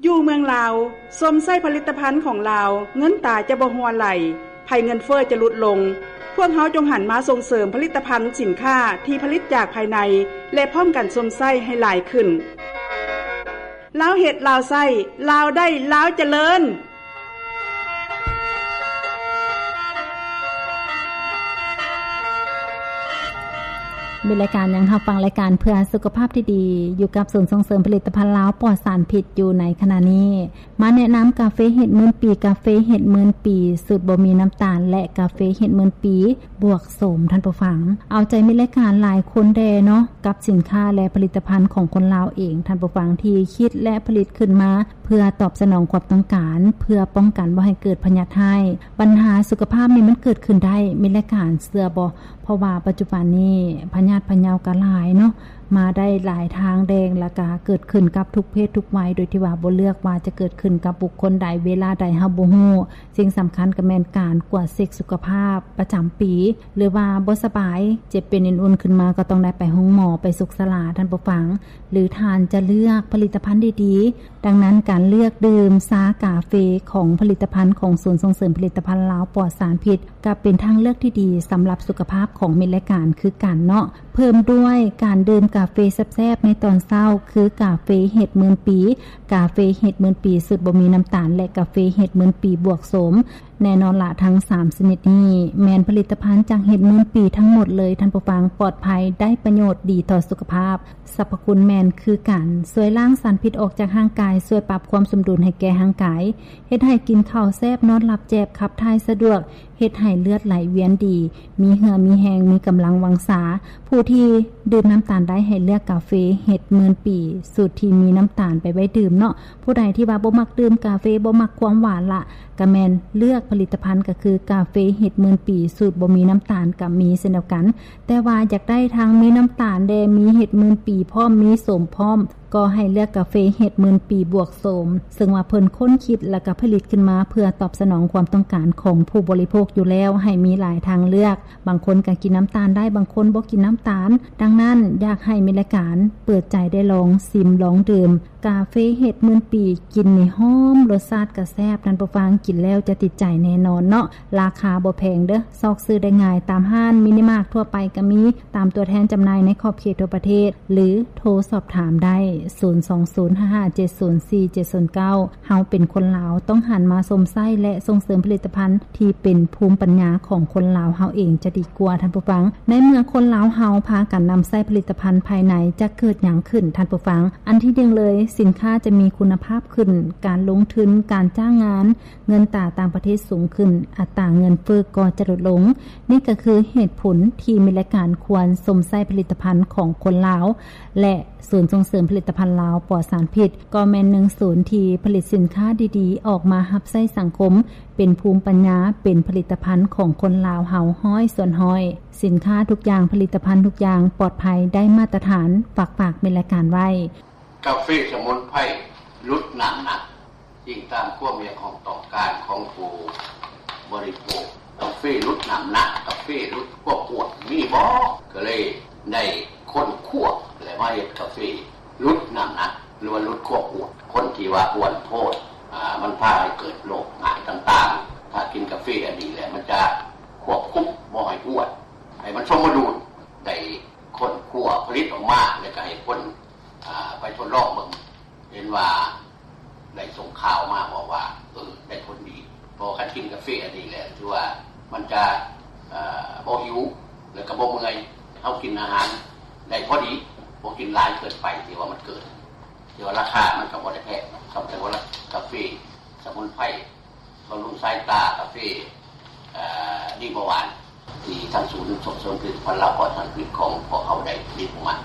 ຢູ່ເມືອງລາວ ຊົມໃຊ້ຜະລິດຕະພັນຂອງລາວ, ເງິນຕາຈະບໍ່ຮົ່ວໄຫຼ, ໄພເງິນເຟີ້ຈະຫຼຸດລົງ. ພວກເຮົາຈົ່ງຫັນມາສົ່ງເສີມຜະລິດຕະພັນສິນຄ້າທີ່ຜະລິດຈາກພາຍໃນ ແລະ ພ້ອມກັນຊົມໃຊ້ໃຫ້ຫຼາຍຂຶ້ນ. ລາວເຮັດ, ລາວໃຊ້, ລາວໄດ້, ລາວຈະເລີນ. ມີລາຍການຍັງຮັບຟັງລາຍການເພື່ອສຸຂະພາບທີ່ດີ ຢູ່ກັບສູນສົ່ງເສີມຜະລິດຕະພັນລາວປອດສານພິດຢູ່ໃນຂະນະນີ້. ມາແນະນຳກາເຟເຫັດໝື່ນປີ, ກາເຟເຫັດໝື່ນປີສູດບໍ່ມີນ້ຳຕານ ແລະ ກາເຟເຫັດໝື່ນປີບວກໂສມ, ທ່ານຜູ້ຟັງ. ເອົາໃຈມິດລາຍການຫຼາຍຄົນແດ່ເນາະ ກັບສິນຄ້າ ແລະ ຜະລິດຕະພັນຂອງຄົນລາວເອງ, ທ່ານຜູ້ຟັງ, ທີ່ຄິດ ແລະ ຜະລິດຂຶ້ນມາ ເພື່ອຕອບສະໜອງຄວາມຕ້ອງການ, ເພື່ອປ້ອງກັນບໍ່ໃຫ້ເກີດພະຍາດຮ້າຍ. ບັນຫາສຸຂະພາບນີ້ມັນເກີດຂຶ້ນໄດ້, ມີລາຍການເຊື່ອບໍ່? ເພາະວ່າປັດຈຸບັນນີ້ພະຍາດພະເຍົາກໍຫຼາຍເນາະ, ມາໄດ້ຫຼາຍທາງແດງ ແລ້ວກໍເກີດຂຶ້ນກັບທຸກເພດທຸກໄວ, ໂດຍທີ່ວ່າບໍ່ເລືອກວ່າຈະເກີດຂຶ້ນກັບບຸກຄົນໃດ, ເວລາໃດ ເຮົາບໍ່ຮູ້. ສິ່ງສຳຄັນກໍແມ່ນການກວດເຊັກສຸຂະພາບປະຈຳປີ, ຫຼືວ່າບໍ່ສະບາຍ, ເຈັບເປັນອື່ນໆຂຶ້ນມາ ກໍຕ້ອງໄດ້ໄປໂຮງໝໍ, ໄປສຸກສະຫຼາ, ທ່ານຜູ້ຟັງ. ຫຼືທ່ານຈະເລືອກຜະລິດຕະພັນດີໆ. ດັ່ງນັ້ນ, ການເລືອກດື່ມຊາກາເຟຂອງຜະລິດຕະພັນຂອງສູນສົ່ງເສີມຜະລິດຕະພັນລາວປອດສານພິດ ກໍເປັນທາງເລືອກທີ່ດີສຳລັບສຸຂະພາບຂອງມິດລາຍການຄືກັນເນາະ. ເພີ່ມດ້ວຍການດື່ມກາເຟແຊບໆໃນຕອນເຊົ້າ ຄືກາເຟເຫັດໝື່ນປີ, ກາເຟເຫັດໝື່ນປີສູດບໍ່ມີນ້ຳຕານ ແລະ ກາເຟເຫັດໝື່ນປີບວກໂສມ. ແນ່ນອນລະ, ທັງສາມຊະນິດນີ້ແມ່ນຜະລິດຕະພັນຈາກເຫັດໝື່ນປີທັງໝົດເລີຍ, ທ່ານຜູ້ຟັງ, ປອດໄພ, ໄດ້ປະໂຫຍດ, ດີຕໍ່ສຸຂະພາບ, ສັບພະຄຸນແມ່ນຄືກັນ, ຊ່ວຍລ້າງສານພິດອອກຈາກຮ່າງກາຍ, ຊ່ວຍປັບຄວາມສົມດຸນໃຫ້ແກ່ຮ່າງກາຍ, ເຮັດໃຫ້ກິນເຂົ້າແຊບ, ນອນຫຼັບແຈບ, ຂັບຖ່າຍສະດວກ, ເຮັດໃຫ້ເລືອດໄຫຼວຽນດີ, ມີເຫື່ອມີແຮງ, ມີກຳລັງວັງຊາ. ຜູ້ທີ່ດື່ມນ້ຳຕານໄດ້ໃຫ້ເລືອກກາເຟເຫັດໝື່ນປີ ສູດທີ່ມີນ້ຳຕານໄປໄວ້ດື່ມເນາະ. ຜູ້ໃດທີ່ວ່າບໍ່ມັກດື່ມກາເຟ, ບໍ່ມັກຄວາມຫວານລະ, ກະແມ່ນເລືອກຜະລິດຕະພັນ ກະຄືກາເຟເຫັດໝື່ນປີ ສູດບໍ່ມີນ້ຳຕານກະມີເຊັ່ນດຽວກັນ. ແຕ່ວ່າຢາກໄດ້ທັງມີນ້ຳຕານແດ່, ມີເຫັດໝື່ນປີພ້ອມ, ມີໂສມພ້ອມ, ກໍໃຫ້ເລືອກກາເຟເຫັດໝື່ນປີບວກໂສມ, ເຊິ່ງວ່າເພິ່ນຄົ້ນຄິດ ແລ້ວກໍຜະລິດຂຶ້ນມາເພື່ອຕອບສະໜອງຄວາມຕ້ອງການຂອງຜູ້ບໍລິໂພກຢູ່ແລ້ວ ໃຫ້ມີຫຼາຍທາງເລືອກ. ບາງຄົນກໍກິນນ້ຳຕານໄດ້, ບາງຄົນບໍ່ກິນນ້ຳຕານ. ດັ່ງນັ້ນ, ຢາກໃຫ້ມີລາຍການເປີດໃຈໄດ້ລອງຊິມ, ລອງດື່ມ ກາເຟເຫັດໝື່ນປີ ກິນນີ້ຫອມ, ລົດຊາດກະແຊບ, ທ່ານຜູ້ຟັງ, ກິນແລ້ວຈະຕິດໃຈແນ່ນອນເນາະ. ລາຄາບໍ່ແພງເດີ້, ຊອກຊື້ໄດ້ງ່າຍ, ຕາມຮ້ານມິນິມາດທົ່ວໄປກະມີ, ຕາມຕົວແທນຈຳໜ່າຍໃນຂອບເຂດທົ່ວປະເທດ ຫຼື ໂທສອບຖາມໄດ້ ສູນສອງສູນຫ້າຫ້າເຈັດສູນສີ່ເຈັດສູນເກົ້າ. ເຮົາເປັນຄົນລາວ, ຕ້ອງຫັນມາຊົມໃຊ້ ແລະ ສົ່ງເສີມຜະລິດຕະພັນທີ່ເປັນພູມປັນຍາຂອງຄົນລາວເຮົາເອງຈະດີກວ່າ, ທ່ານຜູ້ຟັງ. ໃນເມື່ອຄົນລາວເຮົາພາກັນນຳໃຊ້ຜະລິດຕະພັນພາຍໃນ, ຈະເກີດຫຍັງຂຶ້ນ, ທ່ານຜູ້ຟັງ? ອັນທີໜຶ່ງເລີຍ, ສິນຄ້າຈະມີຄຸນນະພາບຂຶ້ນ, ການລົງທຶນ, ການຈ້າງງານ, ເງິນຕາຕ່າງປະເທດສູງຂຶ້ນ, ອັດຕາເງິນເຟີ້ກໍຈະຫຼຸດລົງ. ນີ້ກໍຄືເຫດຜົນທີ່ມີລາຍການຄວນຊົມໃຊ້ຜະລິດຕະພັນຂອງຄົນລາວ ແລະ ສູນສົ່ງເສີມຜະລິດຕະພັນລາວປອດສານພິດ ກໍແມ່ນໜຶ່ງສູນທີ່ຜະລິດສິນຄ້າດີໆອອກມາຮັບໃຊ້ສັງຄົມ, ເປັນພູມປັນຍາ, ເປັນຜະລິດຕະພັນຂອງຄົນລາວເຮົາຮ້ອຍສ່ວນຮ້ອຍ. ສິນຄ້າທຸກຢ່າງ, ຜະລິດຕະພັນທຸກຢ່າງປອດໄພ, ໄດ້ມາດຕະຖານ, ຝາກ, ຝາກມີລາຍການໄວ້. ກາເຟສະໝຸນໄພຫຼຸດນ້ຳໜັກ, ອີງຕາມຄວາມຮຽກຮ້ອງຕ້ອງການຂອງຜູ້ບໍລິໂພກ. ກາເຟຫຼຸດນ້ຳໜັກ, ກາເຟຫຼຸດຄວາມອ້ວນ ມີບໍ່? ກໍເລີຍໄດ້ຄົ້ນຄວ້າ ແລະ ມາເຮັດກາເຟຫຼຸດນ້ຳໜັກ ຫຼືວ່າຫຼຸດຄວາມອ້ວນ. ຄົນທີ່ວ່າອ້ວນໂພດ, ອາ, ມັນພາໃຫ້ເກີດໂລກຮ້າຍຕ່າງໆ. ຖ້າກິນກາເຟອັນນີ້ແລ້ວ ມັນຈະຄວບຄຸມບໍ່ໃຫ້ອ້ວນ, ໃຫ້ມັນສົມມະດຸນ. ໄດ້ຄົ້ນຄວ້າຜະລິດອອກມາ ແລ້ວກໍໃຫ້ຄົນ ອາ ໄປທົດລອງເບິ່ງ ເຫັນວ່າໄດ້ສົ່ງຂ່າວມາບອກວ່າ ເອີ ໄດ້ຜົນດີ. ເພາະວ່າຄັນກິນກາເຟອັນນີ້ແລ້ວ ຖືວ່າມັນຈະ ເອີ ບໍ່ຫິວ ແລ້ວກໍບໍ່ເມື່ອຍ. ເຮົາກິນອາຫານໄດ້ພໍດີ, ບໍ່ກິນຫຼາຍເກີນໄປ ທີ່ວ່າມັນເກີນ. ແຕ່ວ່າລາຄາມັນກໍບໍ່ໄດ້ແພງເນາະ, ສຳລັບວ່າກາເຟສະໝຸນໄພ ບຳລຸງສາຍຕາ, ກາເຟ ເອີ ດີບໍ່ຫວານ ທີ່ທາງສູນສົ່ງເສີມຜະລິດຕະພັນລາວປອດສານພິດຂອງພວກເຮົາໄດ້ຜະລິດອອກມາ.